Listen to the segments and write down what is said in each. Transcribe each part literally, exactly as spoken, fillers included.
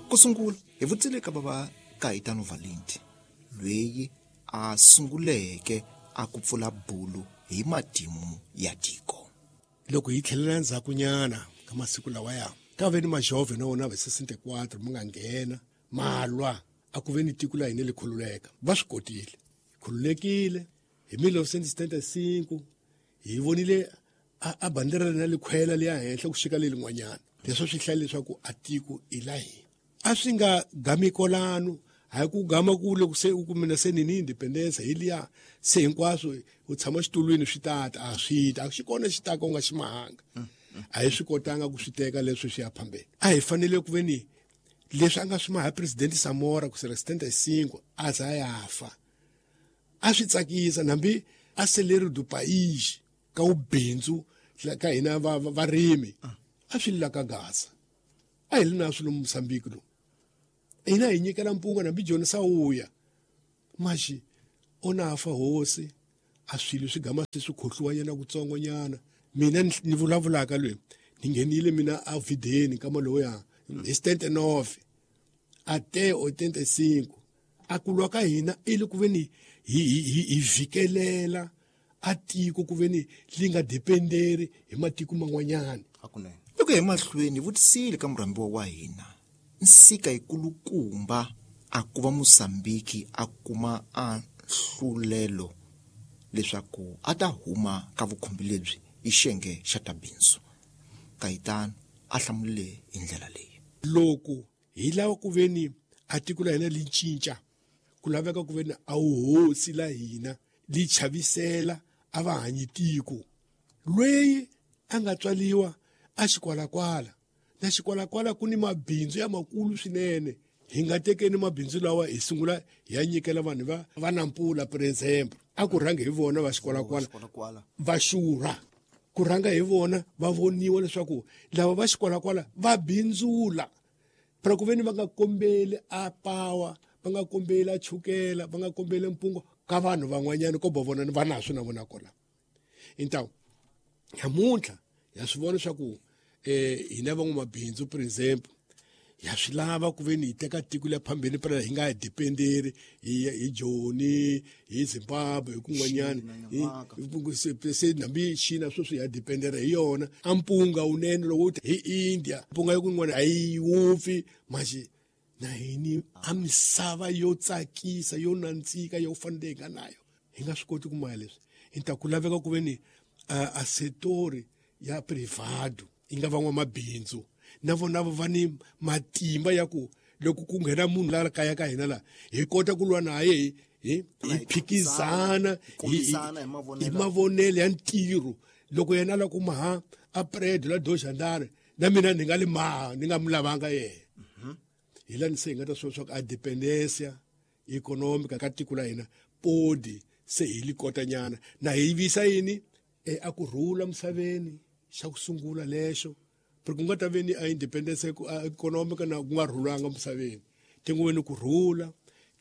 Ku sungula hi vutisile ka bava Caetano Valente loyi a sunguleke a ku pfula bulu hi matimu ya tiko. Loko hi tlhelela ndzhakunyana ka masiku lawaya ka ve ni majove na wona va sesenta e quatro ma nga nghena ma lwa a ku ve ni tiko la hina li khululeka. Va swi kotile, khululekile hi mil novecentos e setenta e cinco. Hi vonile a, a bandera na likhwela liya henhla ku xika le lin'wanyana. Leswo swi hlaya leswaku a tiko i la hina. A swi nga gami kolano, hayi ku gama ku loko se u kumina se ni ni independence hi liya se hinkwaswo u tshama xitulwini swi tata a swi ta a xi kona xi taka u nga xi mahanga. A hi swi kotanga ku swi teka leswi swi ya phambeni. A hi fanele ku ve ni leswi a nga swi maha president Samora ku sela setenta e cinco a za ya fa, a swi tsakisa nambi a celeiro do país ka ubindzu ka hina va varimi a swi la ka Gaza a hi li na swilo Mozambique lo hina hi nyikela mpunga nambi Joni Sawuya maxi ona fa hosi a swilo swi gama swi khohliwa nyana kutsongonyana. Mina ni vulavulaka loyi ni nghenile mina a videni kama loya hi setenta e nove até oitenta e cinco. A ku lwa ka hina i le ku ve ni hi hi hi vhikelela a tiko ku ve ni li nga dependeri hi matiko man'wanyana. Hakunene loko hi mahlweni vutisile ka murhambiwa wa hina nsika yikulukumba a ku va Mozambique a kuma a nhlulelo leswaku a ta huma ka vukhumbi lebyi hi xiyenge xa ta bindzu. Caetano a hlamulile hi ndlela leyi. Loko hi lava ku ve ni a tiko la hina li cinca, ku laveka ku ve ni a wuhosi la hina li chavisela a va hanyi tiko lweyi a nga tswaliwa a xikwalakwala na xikwalakwala ku ni mabindzu ya makulu swinene. Hi nga tekeni mabindzu lawa hi sungula hi ya nyikela vanhu va va Nampula, por exemple. A ku rhangi hi vona va xikwalakwala va xurha, ku rhanga hi vona va voniwa leswaku lava va xikwalakwala va bindzula phela ku ve ni va nga kombeli a pawa, va nga kombeli a chukela, va nga kombeli mpungo ka vanhu van'wanyana ko vona va naswo na vona kola. Então namuntlha ya swi vona leswaku eh hina van'wamabindzu, por exemple, ya swi lava ku ve ni hi teka tiko le phambeni phela hi nga dependeri hi hi Joni, hi Zimbabwe, hi kun'wanyana se nambi China sweswi ya dependera hi yona a mpunga wunene lowu hi India mpunga yo kun'wana a yi wupfi maxi na hini a misava yo tsakisa yo nandzika yo fanele hi nga nayo hi nga swi koti ku maya leswi. Hi ta ku laveka ku ve ni a setori ya privado yi nga van'wamabindzu na vona va ni matimba ya ku loko ku nghena munhu la kaya ka hina la hi kota ku lwa naye hi hi hi phikizana hi mavonelo ya ntirho. Loko yena a lava ku maha a prédio la dois andar na mina ni nga li maha ni nga mu lavanga yena. Hi lani se hi nga ta swi swa ku a dependência econômica ka tiko la hina podi se hi li kotanyana na hi visa yini e a ku rhula misaveni xa ku sungula lexo porque ku nga ta ve ni a independence economic na ku nga rhulanga misaveni tingu ve ni ku rhula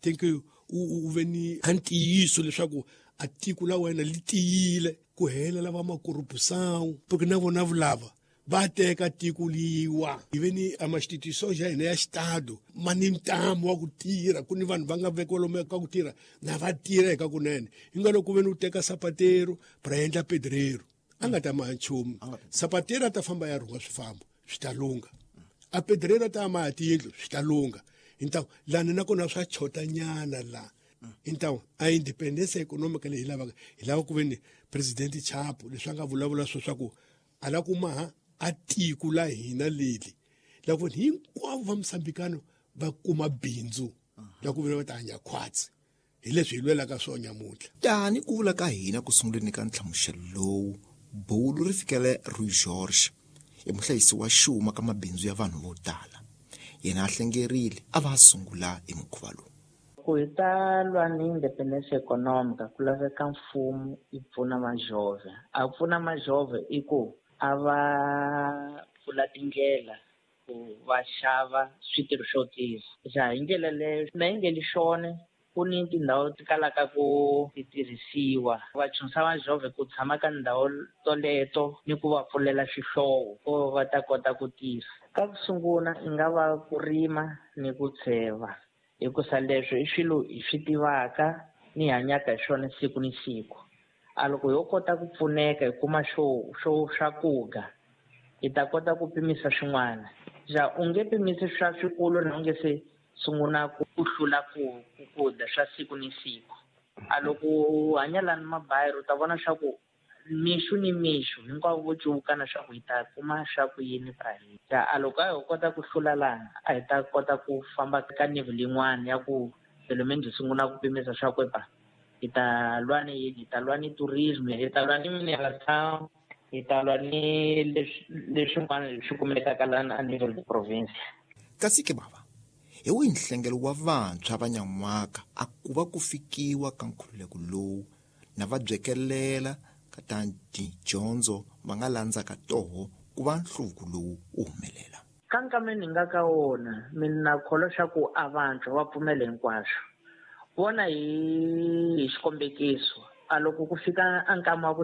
tingu u ve ni a ntiyiso leswaku a tiko la wena li tiyile ku hela lava makorupusão porque na vona vulava va teka tiko liwa. Hi ve ni a ma-instituição ya hina ya xitado ma ni ntamu wa ku tirha ku ni vanhu va nga vekiwa lomu ka ku tirha na va tirha hi ka kunene hi nga loko ku ve ni u teka sapateiro pra endla pedreiro a nga ta maha nchumu. Sapateiro a ta famba ya rhunga swifambo swi ta lungha, a pedreiro a ta maha tiyindlu swi ta lungha. Então lani nakona swa chotanyana la. Então a independência econômica leyi hi lavaka hi lava ku ve ni president Chapo leswi a nga vulavula swo swa ku a lava ku maha a tiko la hina leli la ku hinkwavo va Mosambikano va kuma bindzu la ku vula va ta hanya khwatsi hi leswi hi lwelaka swona nyamuntlha. Tani ku vula ka hina ku sunguleni ka nhlamuselo lowu bulu ri fikele Rui George i muhlayisi wa xuma ka mabindzu ya vanhu vo tala. Yena a hlengerile a va a sungula hi mukhuva lowu. Ku hi ta lwa ni independência econômica ku laveka mfumo yi pfuna majove. A pfuna majove i ku a va pfula tindlela ku va xava switirho swo tirha ja hi ndlela leyo na yi nge li xone. Ku ni tindhawu ti kalaka ku ti tirhisiwa va chunsa majove ku tshama ka ndhawu toleto ni ku va pfulela xihlovo ko va ta kota ku tirha. Ka ku sungula i nga va ku rima ni ku tsheva hikusa leswi i swilo hi swi tivaka ni hanyaka hi swona siku ni siku. A loko ho kota ku pfuneka hi kuma xo xo swakudya hi ta kota ku pimisa swin'wana. Ja u nge pimisi swa swikulu na u nge se sungula ku hlula ku ku dya swa siku ni siku. A loko u hanya lani mabayiri u ta vona swa ku mixo ni mixo hinkwavo vo cuvuka na swa ku hi ta kuma swa ku yini ja a loko a ho kota ku hlula lana a hi ta kota ku famba ka level yin'wana ya ku development hi sungula ku pimisa swa ku pa hi ta lwa ni yini, hi ta lwa ni tourism, hi ta lwa ni mineral town, hi ta lwa ni leswi leswin'wana leswi kumekaka lana a Naval province. Kasi ke bava hi wihi nhlengelo wa vantshwa va nyan'waka a ku va ku fikiwa ka nkhululeko lowu na va byekelela ka ta tidyondzo va nga landzaka toho ku va nhluvuko lowu wu humelela. Ka nkama ni nga ka wona mina kholwa swa ku a vantshwa va pfumela hinkwaswo. Vona hi hi xikombekiso a loko ku fika a nkama wa ku